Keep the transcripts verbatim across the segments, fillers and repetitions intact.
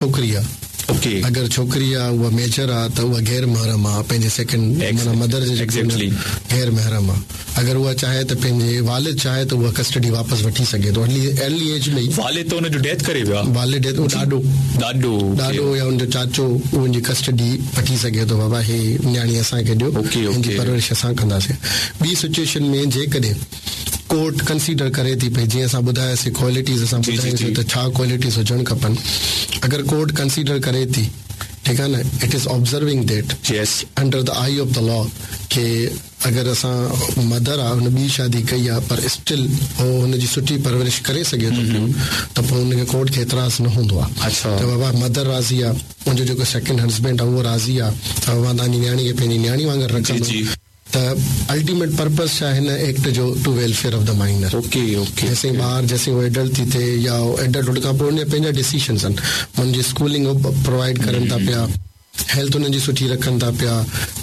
ڇوڪري آهي. اوڪي. اگر ڇوڪري آهي اها ميجر آهي ته اها غير محرم آهي پنهنجي سيڪنڊ معنيٰ مدر جي Exactly. غير محرم آهي. اگر اها چاهي ته پنهنجي والد چاهي ته اها ڪسٽڊي واپس وٺي سگهي ٿو ارلي ارلي ايج ۾ ئي. والد ته ان جو ڊيٿ ڪري ويو آهي. والد ڊيٿ ڏاڏو ڏاڏو ڏاڏو يا ان جو چاچو ان جي ڪسٽڊي وٺي سگهي ٿو بابا هي نياڻي اسان کي ڏيو اوڪي هن جي اوڪي پرورش اسان ڪنداسين. ٻي سچوئيشن ۾ جيڪڏهن ڪورٽ ڪنسيڊر ڪري ٿي پئي جيئن اسان ٻڌاياسين ڪوالٽيز اسان جي جي ٻڌايوسين جي ته ڇا ڪوالٽيز هجڻ کپن اگر ڪورٽ ڪنسيڊر ڪري ٿي ٺيڪ آهي نه it is observing that yes under the eye of the law ڪه اگر اسان مدر آهي هن ٻي شادي ڪئي آهي پر اسٽل هو هن جي سٺي پرورش ڪري سگهي ٿو پيو ته پوءِ هن کي ڪورٽ کي اعتراض نه هوندو آهي اڇا ته بابا مدر راضي آهي منهنجو جيڪو سيڪنڊ هسبينڊ آهي اهو راضي آهي ته بابا توهان جي نياڻي کي پنهنجي نياڻي وانگر جي رکندو جي ته الٽيميٽ پرپز ڇا هن ايڪٽ جو to welfare of the minor okay okay جيسين ٻار جيسين اهو ايڊلٽ ٿي ٿئي يا ايڊلٽ هن کان پوءِ هن جا پنهنجا ڊسيشنس آهن هن جي اسڪولنگ پرووائيڊ ڪرن ٿا پيا هيلٿ هنن جي سٺي رکن ٿا پيا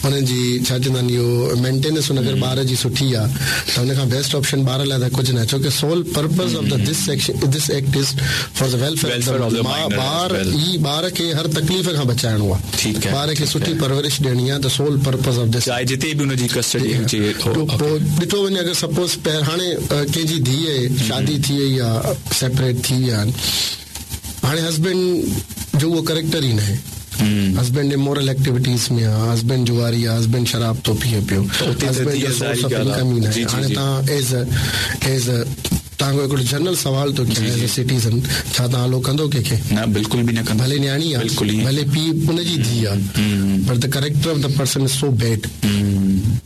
هنن جي ڇا چوندا آهن اهو مينٽيننس هن اگر ٻار جي سٺي آهي ته هن کان بيسٽ آپشن ٻار لاءِ ته ڪجهه نه آهي ڇو ڪه sole purpose of the this section this act is for the welfare welfare of the minor ٻار ئي ٻار کي هر تڪليف کان بچائڻو آهي ٺيڪ آهي ٻار کي سٺي پرورش ڏيڻي آهي ته سول پرپز آف this چاهي جتي به هن جي ڪسٽڊي هجي پوءِ ڏٺو وڃي اگر سپوز هاڻي ڪنهن جي ڌيءَ شادي ٿي وئي آهي سيپريٽ ٿي ويا آهن هاڻي هسبينڊ جو اهو ڪريڪٽر ئي نه آهي هسبينڊ امورل ايڪٽيوٽيز ۾ آهي هسبينڊ جواري آهي هسبينڊ شراب ٿو پيئي پيو هسبينڊ جو سورس آف انڪم ئي نه آهي هاڻي توهان ايز ايز توهان کان هڪڙو جنرل سوال ٿو ڪيان ايز ا سٽيزن ڇا توهان الائو ڪندو ڪنهن کي نه بلڪل به نه ڪندو ڀلي نياڻي آهي بلڪل ئي ڀلي پيءُ ان جي ڌيءَ آهي پر the character of the person is so bad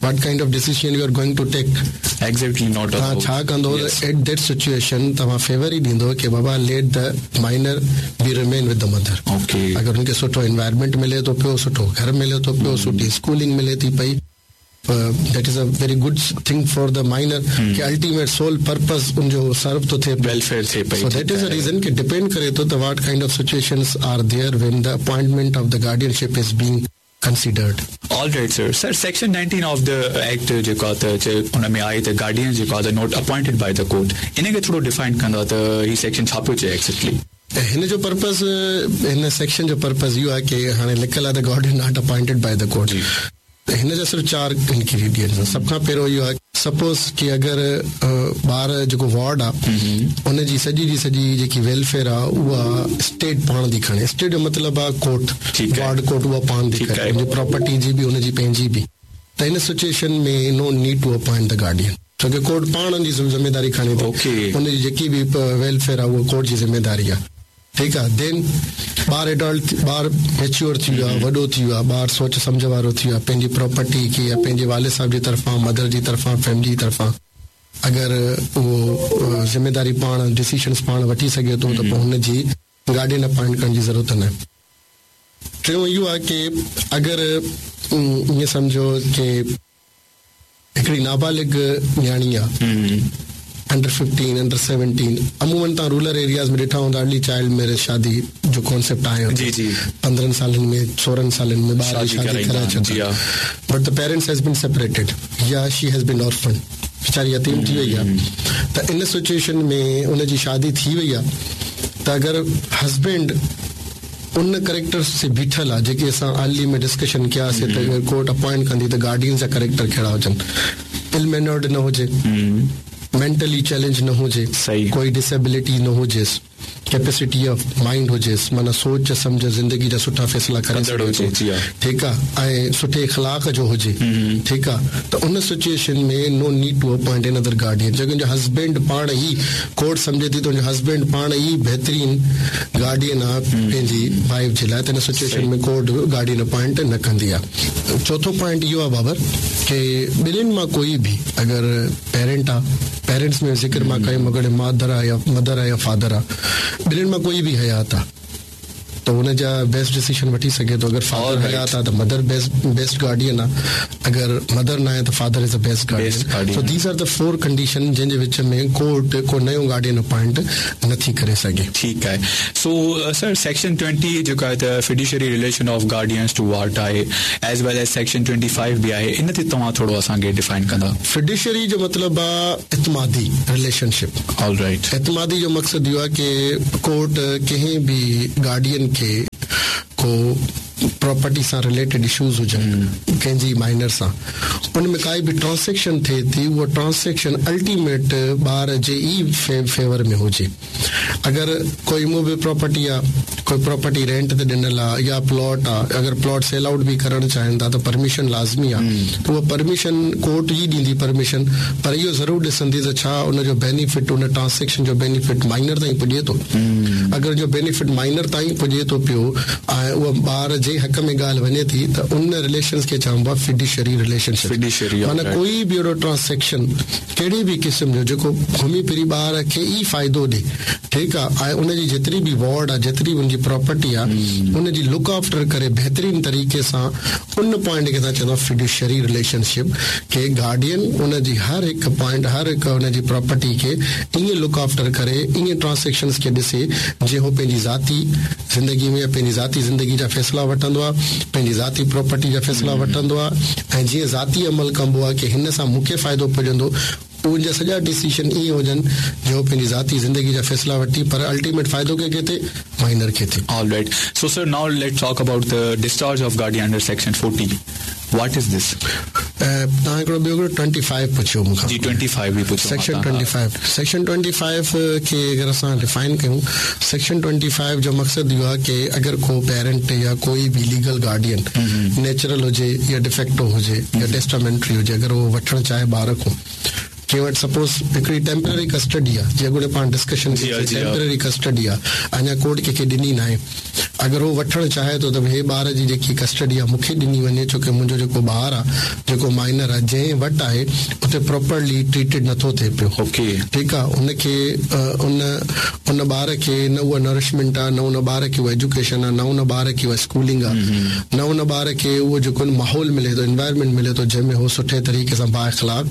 what kind of decision you are going to take exactly not توهان ڇا ڪندو ايٽ that situation توهان فيور ئي ڏيندو ڪه بابا let the minor be remain with the mother okay اگر هن کي سٺو انوائرمينٽ ملي ٿو پيو سٺو گهر ملي ٿو پيو سٺي اسڪولنگ ملي ٿي پئي that is a very good thing for the minor ڪه الٽيميٽ سول پرپز ان جو سرو ٿو ٿئي ويلفيئر ٿئي پئي so that is a reason ڪه ڊپينڊ ڪري ٿو ته what kind of situations are there when the appointment of the guardianship is being considered. All right, sir. Sir, section nineteen of the act جيڪو آهي ته ان ۾ آهي ته گارڊين جيڪو آهي ته not appointed by the court ان کي ٿورو ڊفائن ڪندا ته هي سيڪشن ڇا پيو چئي ايگزيڪٽلي هن جو پرپز هن سيڪشن جو پرپز اهو آهي ڪه هاڻي لکيل آهي ته guardian not appointed by the court هن جا صرف چار انگريڊينٽس آهن سڀ کان پهريون اهو آهي سپوز ڪه اگر ٻار جيڪو وارڊ آهي ان جي سڄي جي سڄي جيڪي ويلفيئر آهي اها اسٽيٽ پاڻ ٿي کڻي اسٽيٽ جو مطلب آهي ڪورٽ وارڊ ڪورٽ اها پاڻ ٿي کڻي هن جي پراپرٽي جي به هن جي پنهنجي به ته هن situation ۾ no need to appoint the guardian ڇو ڪه ڪورٽ پاڻ هن جي ذميداري کڻي ٿي هن جي جيڪي به ويلفيئر آهي اها ڪورٽ جي ذميداري آهي ٺيڪ آهي دين ٻار ايڊلٽ ٻار ميچوئر ٿي ويو آهي وڏو ٿي ويو آهي ٻار سوچ سمجهه وارو ٿي ويو آهي پنهنجي پراپرٽي کي يا پنهنجي والد صاحب جي طرفان مدر جي طرفان فيملي جي طرفان اگر اهو ذميداري پاڻ ڊسيشنس پاڻ وٺي سگهي ٿو ته پوءِ هن جي گارڊين اپائنٽ ڪرڻ جي ضرورت نه آهي ٽيون اهو آهي ڪه اگر ائين سمجهو ڪه هڪڙي نابالغ نياڻي آهي انڊر ففٽين انڊر سيونٽين عمومن توهان رورل ايرياز ۾ ڏٺا هوندا ارلي چائلڊ ميريج شادي جو ڪانسيپٽ آيو جي جي پندرهن سالن ۾ سورهن سالن ۾ ٻار جي شادي ڪرائي ڇڏيندا but the parents has been separated يا she has been orphan ويچاري يتيم ٿي وئي آهي ته ان سچوئيشن ۾ ان جي شادي ٿي وئي آهي ته اگر هسبينڊ ان ڪريڪٽرس تي بيٺل آهي جيڪي اسان ارلي ۾ ڊسڪشن ڪياسين ته ڪورٽ اپائنٽ ڪندي ته گارڊينس جا ڪريڪٽر ڪهڙا هجن ال مينرڊ نه هجي مينٽلي چئلينج نه هجي صحيح ڪوئي ڊسيبلٽي نه هجيس ڪيپيسٽي آف مائينڊ هجيس معنيٰ سوچ سمجهه زندگي جا سٺا فيصلا ڪري ڪندڙ هجي جي ها ٺيڪ آهي ۽ سٺي اخلاق جو هجي ٺيڪ آهي ته ان situation ۾ no need to appoint another guardian جيڪو جو هسبينڊ پاڻ ئي ڪورٽ سمجهي ٿي ته ان جو هسبينڊ پاڻ ئي بهترين گارڊين آهي پنهنجي وائيف جي لاءِ ته ان سچوئيشن ۾ ڪورٽ گارڊين اپائنٽ نه ڪندي آهي چوٿون پوائنٽ اهو آهي بابر ڪه ٻنهن مان ڪوئي به اگر پيرنٽ آهي پيرنٽس ۾ ذڪر مان ڪيم اگر مادر آهي يا مدر آهي يا فادر آهي ٻنهن مان ڪوئي به حيات آهي ته هن جا بيسٽ ڊسيشن وٺي سگهي ٿو اگر فادر حيات آهي ته مدر بيسٽ بيسٽ گارڊين آهي اگر مدر نه آهي ته father is the best guardian so these are the four condition جنهن جي وچ ۾ ڪورٽ ڪو نيو گارڊين اپائنٽ نٿي ڪري سگهي ٺيڪ آهي سو سر سيڪشن ٽوئنٽي جيڪو آهي ته fiduciary relation of guardians to ward آهي as well as section twenty five به آهي ان تي توهان ٿورو اسان کي ڊفائن ڪندا فڊيشري جو مطلب آهي اعتمادي رليشنشپ آل رائٽ اعتمادي جو مقصد اهو آهي ڪه ڪورٽ ڪنهن به گارڊين کي کي ڪو प्रॉपर्टी सां रिलेटेड इशूज़ हुजनि कंहिंजी माइनर सां, उन में काई बि ट्रांज़ैक्शन थिए थी, उहा ट्रांज़ैक्शन अल्टीमेट ॿार जे ई फे, फेवर में हुजे। अगरि कोई इमूवेबल प्रॉपर्टी आहे, कोई प्रॉपर्टी रेंट ते ॾिनल आहे या प्लॉट आहे, अगरि प्लॉट सेल आउट बि करणु चाहिनि था त परमिशन लाज़मी आहे, त उहा परमिशन कोर्ट ई ॾींदी परमिशन, पर इहो ज़रूरु ॾिसंदी त छा उनजो बेनिफिट, उन ट्रांज़ैक्शन जो बेनिफिट माइनर ताईं पुॼे थो। अगरि जो बेनिफिट माइनर ताईं पुॼे थो पियो ऐं उहा ॿार जे हक़ में ॻाल्हि वञे थी त उन रिलेशन्स खे चइबो आहे फिड्यूशरी रिलेशनशिप। फिड्यूशरी माना कोई बि अहिड़ो ट्रांज़ैक्शन कहिड़ी बि क़िस्म जो जेको घुमी फिरी ॿार खे ई फ़ाइदो ॾे, ठीकु आहे, ऐं उनजी जेतिरी बि वार्ड आहे, जेतिरी बि उनजी प्रॉपर्टी आहे, उनजी लुक आफ्टर करे बहितरीन तरीक़े सां, उन पॉइंट खे असां चवंदा फिड्यूशरी रिलेशनशिप के गार्डियन उनजी हर हिकु पॉइंट, हर हिकु उनजी प्रॉपर्टी खे ईअं लुक आफ्टर करे, ईअं ट्रांज़ैक्शन्स खे ॾिसे जीअं हू पंहिंजी ज़ाती ज़िंदगी में पंहिंजी ज़ाती ज़िंदगी जा फ़ैसिला वठंदो आहे, पंहिंजी ज़ाती प्रॉपर्टी जा फ़ैसिला वठंदो आहे, ऐं जीअं ज़ाती अमल कबो आहे की हिन सां मूंखे फ़ाइदो पुॼंदो, उनजा सॼा डिसीजन ईअं हुजनि जो पंहिंजी ज़ाती ज़िंदगी जा फ़ैसिला वठी, पर अल्टीमेट फ़ाइदो कंहिंखे थिए? माइनर खे थिए। All right, so sir now let's talk about the discharge of guardian under section forty. What is this? तव्हां हिकिड़ो ॿियो हिकिड़ो ट्वेंटी फाइव पुछियो मूंखां। जी, ट्वेंटी फाइव बि पुछियो। Section twenty five, section twenty five खे अगरि असां डिफाइन कयूं, सेक्शन ट्वेंटी फाइव जो मक़सदु इहो आहे की अगरि को पेरेंट या कोई बि लीगल गार्डियन नेचुरल हुजे या डिफेक्टो हुजे या टेस्टामेंट्री हुजे, अगरि उहो वठणु चाहे ॿार खां, कंहिं वटि सपोज़ हिकिड़ी टेम्पररी कस्टडी आहे, जीअं अॻु पाण डिस्कशन कई, टेम्पररी कस्टडी आहे, अञा कोर्ट कंहिंखे ॾिनी न आहे, अगरि उहो वठणु चाहे थो त हे ॿार जी जेकी कस्टडी आहे मूंखे ॾिनी वञे, छो की मुंहिंजो जेको ॿार आहे, जेको माइनर आहे, जंहिं वटि आहे उते प्रॉपरली ट्रीटेड नथो थिए पियो। ओके, ठीकु आहे, उनखे उन उन ॿार खे न उहा नरिशमेंट आहे, न उन ॿार खे उहा एजुकेशन आहे, न उन ॿार खे उहा स्कूलिंग आहे, न उन ॿार खे उहो जेको माहौल मिले थो, एनवायरमेंट मिले थो जंहिंमें हू सुठे तरीक़े सां बाइख़लाक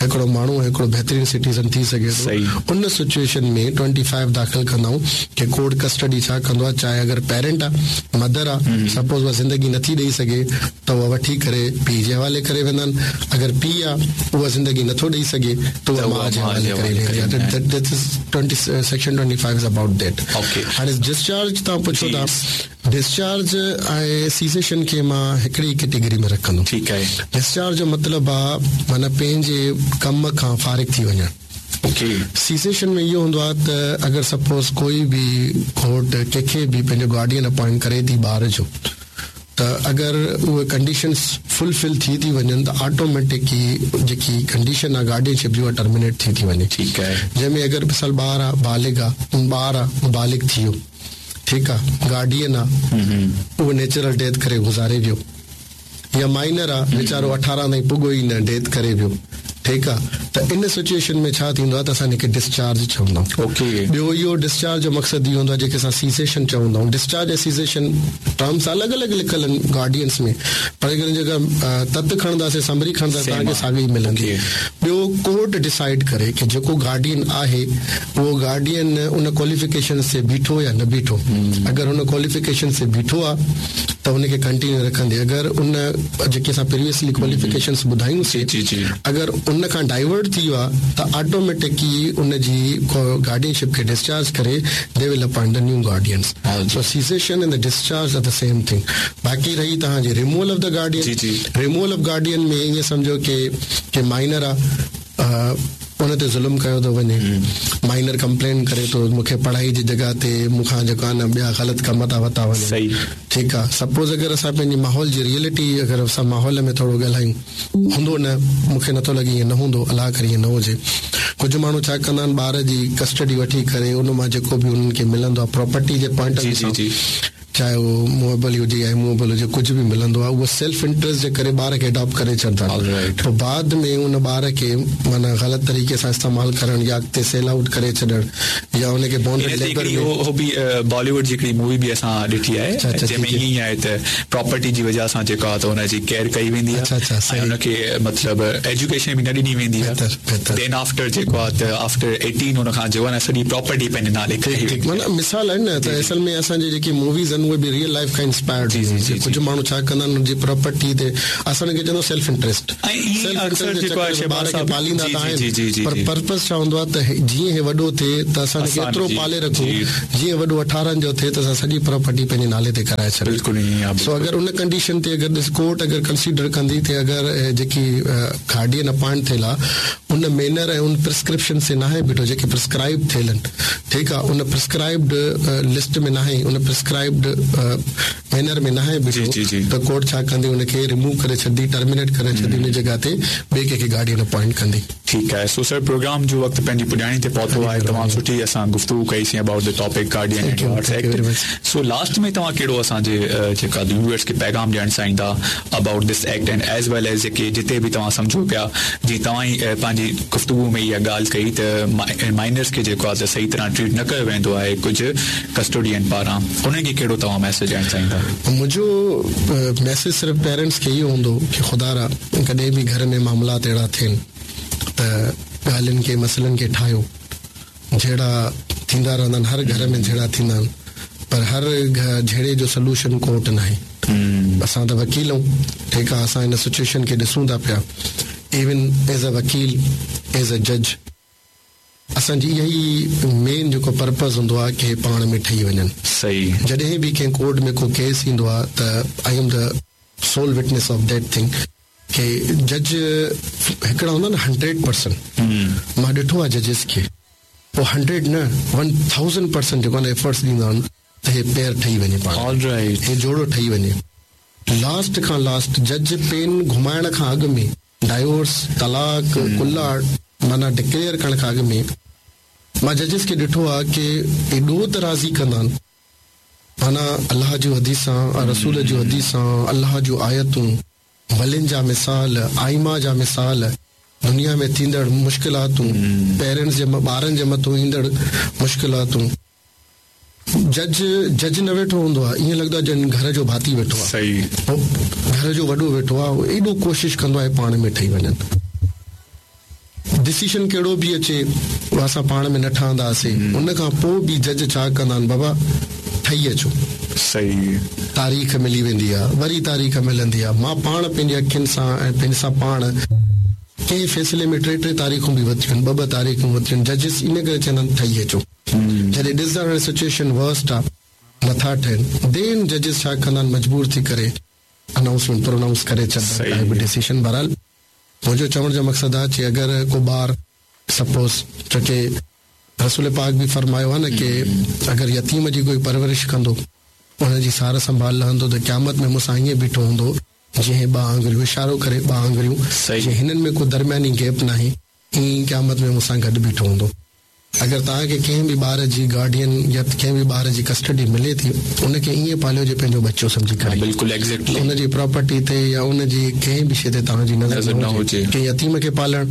हिकिड़ो माण्हू, हिकिड़ो बहितरीन सिटीज़न थी सघे थो। उन सिचुएशन में ट्वेंटी फाइव दाख़िल कंदा आहियूं की कोर्ट कस्टडी छा कंदो आहे, चाहे अगरि पेरेंट आहे, मदर आहे, सपोज़ उहा ज़िंदगी नथी ॾेई सघे त उहा वठी करे पीउ जे हवाले करे वेंदा आहिनि, अगरि पीउ आहे उहा ज़िंदगी नथो ॾेई सघे त उहा माउ जे हवाले करे वेंदी आहे। Section twenty five is about that. हाणे डिस्चार्ज तव्हां पुछो था, डिस्चार्ज ऐं सीसेशन खे मां हिकिड़ी कैटेगरी में रखंदुमि। ठीकु आहे। डिस्चार्ज जो मतिलबु आहे माना पंहिंजे कम खां फ़ारिग थी वञणु। ओके। सीसेशन में इहो हूंदो आहे त अगरि सपोज़ कोई बि कोर्ट कंहिंखे बि पंहिंजो गार्डियन अपॉइंट करे थी ॿार जो, त अगरि उहे कंडीशन्स फुलफिल थी थी वञनि त ऑटोमेटिक जेकी कंडीशन आहे गार्डियनशिप जी उहा टर्मिनेट थी थी वञे। ठीकु आहे। जंहिंमें अगरि मिसाल ॿार आहे, बालिग आहे, ॿार आहे, बालिग थी वियो, ठीकु आहे, गार्डियन आहे, उहो नेचुरल डेथ करे गुज़ारे वियो, या माइनर आहे, वीचारो अठारहं ताईं पुॻो ई न, डेथ करे वियो, ठीकु आहे, त इन सिचुएशन में छा थींदो आहे त असां हिनखे डिस्चार्ज चवंदा आहियूं। ओके। ॿियो इहो डिस्चार्ज जो मक़सदु इहो हूंदो आहे जेके असां सीसेशन चवंदा आहियूं। डिस्चार्ज ऐं सीसेशन टर्म्स अलॻि अलॻि लिखियलु आहिनि गार्डियंस में, पर अगरि जेका तत खणंदासीं, समरी खणंदासीं, तव्हांखे साॻी ई मिलंदी। ॿियो कोर्ट डिसाइड करे की जेको गार्डियन आहे उहो गार्डियन उन क्वालिफिकेशन ते बीठो या न बीठो। अगरि हुन क्वालिफिकेशन ते बीठो आहे त हुनखे कंटिन्यू रखंदी, अगरि उन जेके असां प्रीवियसली क्वालिफिकेशन्स ॿुधायूंसीं, अगरि उन खां डाइवर्ट थी वियो आहे त ऑटोमेटिकली उनजी गार्डियनशिप खे डिस्चार्ज करे they will appoint the new guardians. So cessation and the discharge are the same thing. बाक़ी रही तव्हांजी removal of the guardian. Removal of guardian में ईअं सम्झो की की माइनर आहे, उन ते ज़ुल्म कयो थो वञे, माइनर कंप्लेन करे थो मूंखे पढ़ाई जी जॻह ते मूंखां जेको आहे न ॿिया ग़लति कम था वरिता वञनि। ठीकु आहे। सपोज़ अगरि असां पंहिंजे माहौल जी रियलिटी अगरि असां माहौल में थोरो ॻाल्हायूं, हूंदो न, मूंखे नथो लॻे ईअं न हूंदो, अलाह करे ईअं न हुजे। कुझु माण्हू छा कंदा आहिनि, ॿार जी कस्टडी वठी करे उन मां जेको बि उन्हनि खे मिलंदो आहे property J point of view, चाहे उहो मूवेबल हुजे या इमूवेबल हुजे, कुझु बि मिलंदो आहे, उहो सेल्फ इंट्रस्ट जे करे ॿार खे अडॉप्ट करे छॾंदा आहिनि। पोइ बाद में उन ॿार खे माना ग़लति तरीक़े सां इस्तेमालु करणु या अॻिते सेल आउट करे छॾणु या उनखे बॉन्डेड लेबर में। उहो बि बॉलीवुड जी हिकिड़ी मूवी बि असां ॾिठी आहे जंहिंमें ईअं ई आहे त प्रॉपर्टी जी वजह सां जेको आहे त हुनजी केयर कई वेंदी आहे। अच्छा अच्छा। ऐं हुनखे मतिलबु एजुकेशन बि न ॾिनी वेंदी आहे। Then after जेको आहे त आफ्टर एटीन हुन खां जेको आहे न सॼी प्रॉपर्टी पंहिंजे नाले कई। माना मिसाल आहे न त असल में असांजी जेकी मूवीज़ आहिनि آهن اهي به ريئل لائيف کان انسپائرڊ. ڪجهه ماڻهو ڇا ڪندا آهن جي پراپرٽي تي اسان کي چوندو سيلف انٽريسٽ، ٻار کي پاليندا ته آهن پر پرپز ڇا هوندو آهي ته جيئن هي وڏو ٿئي ته اسان کي ايترو پالي رکون جيئن وڏو اٺارهن جو ٿئي ته اسان سڄي پراپرٽي پنهنجي نالي تي ڪرائي ڇڏيون. سو اگر ان ڪنڊيشن تي اگر ڏس ڪورٽ اگر ڪنسيڊر ڪندي ته اگر جيڪي گارڊين اپائنٽ ٿيل آهي ان مينر ۽ ان پرسڪرپشن سي ناهي بيٺو جيڪي پرسڪرائب ٿيل آهن، ٺيڪ آهي، ان پرسڪرائبڊ لسٽ ۾ ناهي، ان پرسڪرائبڊ مينر ۾ ناهي بيٺو ته ڪورٽ ڇا ڪندي ان کي ريموو ڪري ڇڏندي، ٽرمينيٽ ڪري ڇڏندي، ان جڳهه تي ٻئي ڪنهن کي گارڊين اپائنٽ ڪندي. ٺيڪ آهي. سو سر پروگرام جو وقت پنهنجي پڄاڻي تي پهتو آهي. تمام سٺي اسان گفتگو ڪئيسين about the topic guardian and wards act. So last ۾ توهان ڪهڙو اسان جي جيڪا ويوئرس کي پيغام ڏيڻ چاهيندا about this act and as well as جيڪي جتي به توهان سمجهو پيا، جيئن توهان ئي پنهنجي گفتگو ۾ اها ڳالهه ڪئي ته مائنرس کي جيڪو آهي ته صحيح طرح ٽريٽ نه ڪيو ويندو آهي ڪجهه ڪسٽوڊين پاران، انهن کي ڪهڙو توهان ميسيج ڏيڻ چاهيندا؟ منهنجو ميسيج صرف پيرنٽس کي اهو هوندو ڪه خدا را ڪڏهن به گهر ۾ معاملات اهڙا ٿين ته ڳالهين کي مسئلن کي ٺاهيو. جهيڙا ٿيندا رهندا آهن، هر گهر ۾ جهيڙا ٿيندا آهن، پر هر جهيڙي جو سوليوشن ڪورٽ نه آهي. اسان ته وڪيل آهيون، ٺيڪ آهي، اسان هن سچوئيشن کي ڏسون ٿا پيا. ايون ايز ا وڪيل، ايز ا جج، اسان جي اها ئي مين جيڪو پرپز هوندو آهي ڪه پاڻ ۾ ٺهي وڃن. صحيح. جڏهن به ڪنهن ڪورٽ ۾ ڪو ڪيس ايندو آهي ته I am the sole witness of that thing ڪه جج هڪڙا هوندا آهن هنڊريڊ پرسنٽ، مان ڏٺو آهي ججز کي اهو هنڊريڊ نه ون ٿائوزنڊ پرسنٽ جيڪو آهي ايفرٽس ڏيندا آهن ته هي پيئر ٺهي وڃي پاڻ، هي جوڙو ٺهي وڃي. لاسٽ کان لاسٽ جج پين گهمائڻ کان اڳ ۾ ڊائيورس، طلاق، ڪلا معنيٰ ڊڪليئر ڪرڻ کان اڳ ۾ مان ججز کي ڏٺو آهي ڪه ايڏو ته راضي ڪندا آهن، معنيٰ الله جون حديثان، رسول جون حديثان، الله جون آيتون، ولين جا مثال، آئما جا مثال، دنيا ۾ ٿيندڙ مشڪلاتون، پيرنٽس جي ٻارن جي مٿان ايندڙ مشڪلاتون. جج جج نه ويٺو هوندو آهي، ائين لڳندو آهي ڄڻ گهر جو ڀاتي ويٺو آهي، صحيح، گهر جو وڏو ويٺو آهي، ايڏو ڪوشش ڪندو آهي پاڻ ۾ ٺهي وڃن. ڊسيشن ڪهڙو به اچي اسان پاڻ ۾ نه ٺهنداسين، ان کان پوءِ به جج ڇا ڪندا آهن، بابا ٺهي اچو، صحيح، تاريخ ملي ويندي آهي، وري تاريخ ملندي آهي. مان پاڻ پنهنجي اکين سان ۽ پنهنجي سان پاڻ ڪنهن فيصلي ۾ ٽي ٽي تاريخون به ورتيون آهن، ٻه ٻه تاريخون ورتيون آهن. ججز ان ڪري چوندا آهن ٺهي اچو. جڏهن ڏسندا آهن سچوئيشن ورسٽ آهي، نٿا ٺهن، دين ججز ڇا ڪندا آهن، مجبور ٿي ڪري انائونسمينٽ پرونائونس ڪري ڇڏندا آهن ڊسيشن. بهرحال منهنجو چوڻ جو مقصد آهي چي اگر ڪو ٻار سپوز، ڇو ڪه رسول پاڪ به فرمايو آهي نه ڪه اگر يتيم جي ڪوئي پرورش ڪندو، ان جي سار سنڀال لهندو ته قيامت ۾ مون سان ائين بيٺو هوندو جيئن ٻه آڱريون اشارو ڪري، ٻه آڱريون، جيئن هنن ۾ ڪو درمياني گيپ ناهي، ائين قيامت ۾ مون سان گڏ بيٺو هوندو. اگر توهان کي ڪنهن به ٻار جي گارڊين يا ڪنهن به ٻار جي ڪسٽڊي ملي ٿي، ان کي ائين پاليو جي پنهنجو ٻچو سمجهي ڪري، بلڪل ايگزيڪٽلي، ان جي پراپرٽي تي يا ان جي ڪنهن به شيءِ تي توهان جي نظر نه هجي. ڪنهن يتيم کي پالڻ،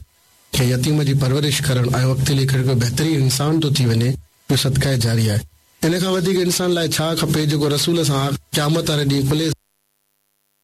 ڪنهن يتيم جي پرورش ڪرڻ ۽ اڳتي هلي ڪري ڪو بهترين انسان ٿو ٿي وڃي، اهو صدقه جاري آهي. ان کان وڌيڪ انسان لاءِ ڇا کپي جيڪو رسول سان قيامت واري ڏينهن کلي